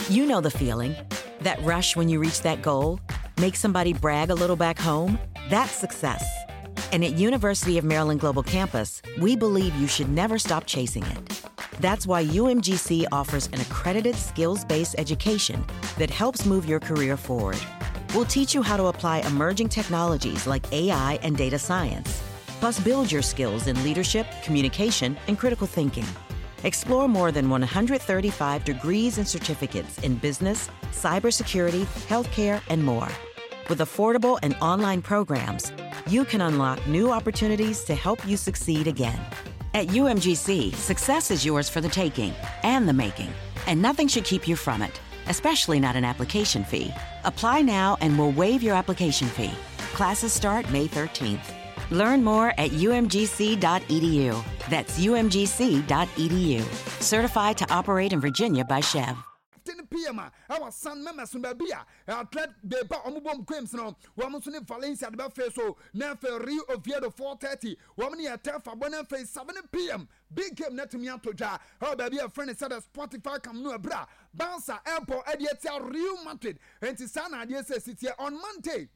You know the feeling. That rush when you reach that goal, make somebody brag a little back home, that's success. And at University of Maryland Global Campus, we believe you should never stop chasing it. That's why UMGC offers an accredited skills-based education that helps move your career forward. We'll teach you how to apply emerging technologies like AI and data science, plus build your skills in leadership, communication, and critical thinking. Explore more than 135 degrees and certificates in business, cybersecurity, healthcare, and more. With affordable and online programs, you can unlock new opportunities to help you succeed again. At UMGC, success is yours for the taking and the making, and nothing should keep you from it, especially not an application fee. Apply now and we'll waive your application fee. Classes start May 13th. Learn more at umgc.edu. That's umgc.edu. Certified to operate in Virginia by Chev. 10 pm a ɛwɔ San Mames no baabi a Athletic Bilbao wɔn bom games no wɔn nso ne Valencia de bɛfee so na afei Real Oviedo 4:30 wɔn ne Getafe bɔ na afei 7 pm big game no atumi atɔ dwa ɛwɔ baabi a ɛfrɛ no sɛ the Spotify Camp Nou ɛberɛ a Barca ɛrebɔ ɛde atia Real Madrid nti saa na adeɛ sɛ si teɛ on Monday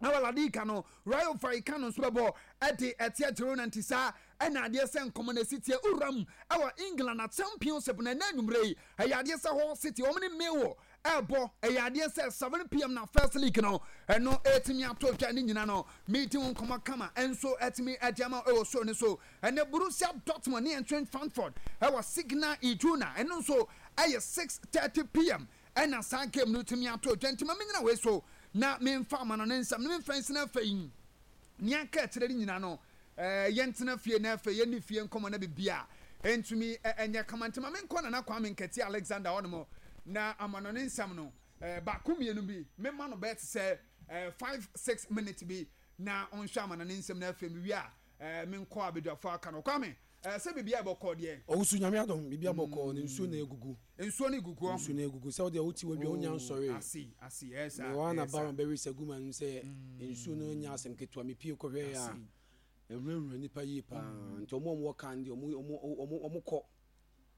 Na wɔ La Liga no, Rayo Vallecano nso bɛbɔ de atia Girona nti saa na adeɛ sɛ nkɔmmɔ no asi teɛ. Wuram wɔ England na Championship no ɛnnɛ anwummerɛ yi, ɛyɛ adeɛ sɛ Hull City wɔn ne Millwall ɛrebɔ, ɛyɛ adeɛ sɛ 7pm na First League no ɛno ɛretumi ato dwa ne nyina no meedi ho nkɔmmɔ kama nso atumi de ama wɔ show no so. Ɛnnɛ Borussia Dortmund ne Eintracht Frankfurt ɛwɔ Signal Iduna ɛno nso ɛyɛ 6:30pm Ɛna saa game no tumi ato dwa nti ma menyina wei so na memfa amanɔne nsɛm no memfa nsina afei nea aka akyerɛ no nyina no eh, yɛntena fie na afei yɛnni fie nkɔmmɔ na bibia ntumi ɛnyɛ kama nti ma menkɔ Nana Kwame Nkatia Alexander hɔ nom na amanɔne nsɛm no eh, baako mmienu bi mema no bɛyɛ te sɛ eh, 5-6 minutes bi na ɔnhwɛ amanɔne nsɛm no afei mewie a eh, menkɔ abadwafoɔ aka no Kwame Eh, sɛ biribiara bɔkɔɔ deɛ. Owusu Nyame adom biribiara bɔkɔɔ na nsuo na egugu. Nsuo no gugu ɔho. Nsuo no egugu sɛ wodeɛ wote wadwa wonya nsɔree. Oh, ase, ase, ɛyɛ saa, Mewɔ ha na ɛyɛ saa. Baron bɛwe sagu ma nim sɛ nsuo no nyɛ asɛm ketewa mepie kɔhwɛɛ a Ase. ɛwurawura nnipa yie paa nti ɔmo a ɔmo wɔ car no deɛ ɔmo ɔmo ɔmo ɔmo kɔ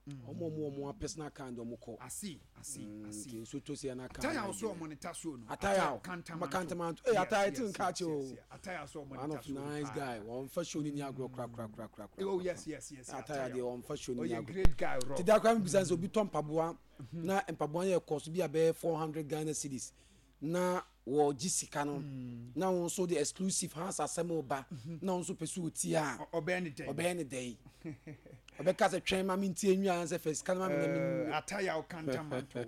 ɔmo a ɔmo wɔ ɔmo personal car no deɛ ɔmo kɔ. Ase, ase, ase. Nti nsuo tɔ sei a na car Ataya no so ayɛ ɔmo ne tasuo no. Ataya o, Kantamanto. Kantamanto. Hey, Yes, Ataya ti yes, nka yes, akyi yes, o. yes. Ataya so ɔmo ne One of tasuo no nice paa. guy. Wɔnfa show ni ni agorɔ kora kora kora kora kora. Oh yes, yes. Ataya deɛ wɔnfa show ni ni Ɔyɛ agorɔ. great guy rɔ. Ti da kora mi bisa sɛ obi tɔ mpaboa na mpaboa no yɛ kɔso bi a bɛyɛ 400 Ghana cedis na wɔgye sika no na wɔn nso de exclusive Hans asɛm ba na wɔn nso pɛ sɛ ɔtie a Ɔbɛyɛ ne dɛn? Ɔbɛyɛ ne dɛn? Ɔbɛka sɛ twɛn ma mi ntie nwi ansɛ fɛ sika no ma mi na mi. Ataya o Kantamanto.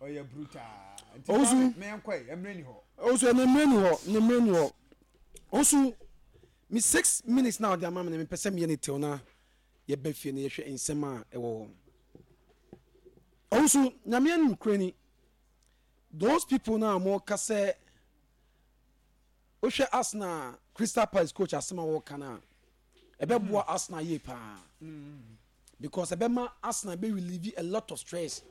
Ɔyɛ brutal. Nti Owusu. Kwame, menkɔ yi, mmerɛ ni hɔ. Ɔnso ɛnɛ mmerɛ ni hɔ, ne mmerɛ ni hɔ. Ɔnso mi 6 minutes na ɔde ama mi na mi pɛ sɛ mi yɛ ne tew na yɛbɛ fie na yɛhwɛ nsɛm a ɛwɔ hɔ. Ɔnso Nyame anim kura ni those people na wɔn ka sɛ wohwɛ Arsenal, Crystal Palace coach asɛm a wɔka no a ɛbɛboa Arsenal yie paa because ɛbɛma Arsenal bɛ relieve a lot of stress,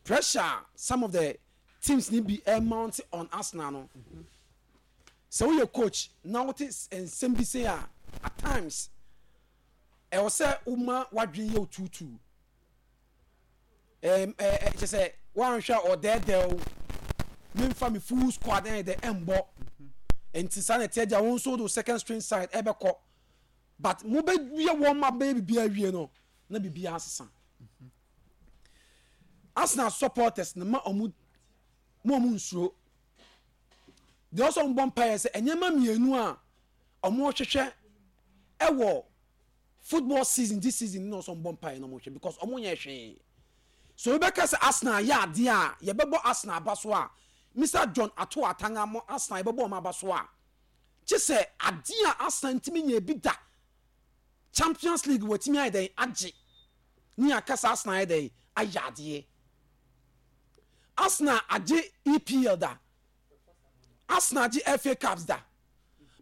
pressure some of the teams ni bi ɛmount on Arsenal no. Sɛ woyɛ coach na wote nsɛm bi se a, at times ɛwɔ sɛ woma wadwene yɛ otuutu ɛɛm ɛɛ kyɛ sɛ woanhwɛ a ɔdɛɛdɛw memfa me full squad ɛyɛ dɛ ɛmbɔ nti saa na ɛteɛ gya wɔn nso de second string side ɛbɛkɔ but mobɛyɛ wɔn ma bɛyɛ biribi awie no na biribi asesa. Arsenal supporters no ma ɔmo mo ɔmo nsuro deɛ ɔsɔ ɔmo bɔ mpaeɛ sɛ nneɛma mmienu a ɔmo hwehwɛ ɛwɔ football season this season na ɔsɔ ɔmo bɔ mpaeɛ na ɔmo hwɛ because ɔmo nyɛ hwee so ebɛka sɛ Arsenal yɛ adeɛ a yɛbɛbɔ Arsenal aba so a Mr John Ato Atanga mo Arsenal yɛbɛbɔ ɔmo aba so a kye sɛ adeɛ a Arsenal ntumi nyɛ bi da, Champions League wɔtumi ayɛ dɛn agye ne akasa Arsenal ayɛ dɛn ayɛ adeɛ. Arsenal agye EPL da, Arsenal agye FA Cups da,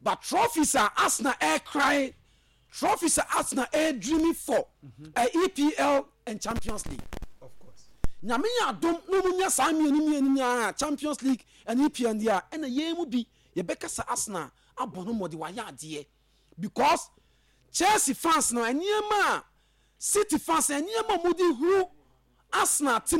but trophies a Arsenal ɛɛcry, trophies a Arsenal ɛɛdreaming for EPL and Champions League. Of course. Nyame yɛ adom na ɔmu nya saa mmienu mmienu nyinaa, Champions League and EPL deɛ a ɛna yɛn mu bi yɛbɛkasa Arsenal abɔ no mmɔde wayɛ adeɛ because Chelsea fans no nneɛma a City fans nneɛma a wɔde huru Arsenal team.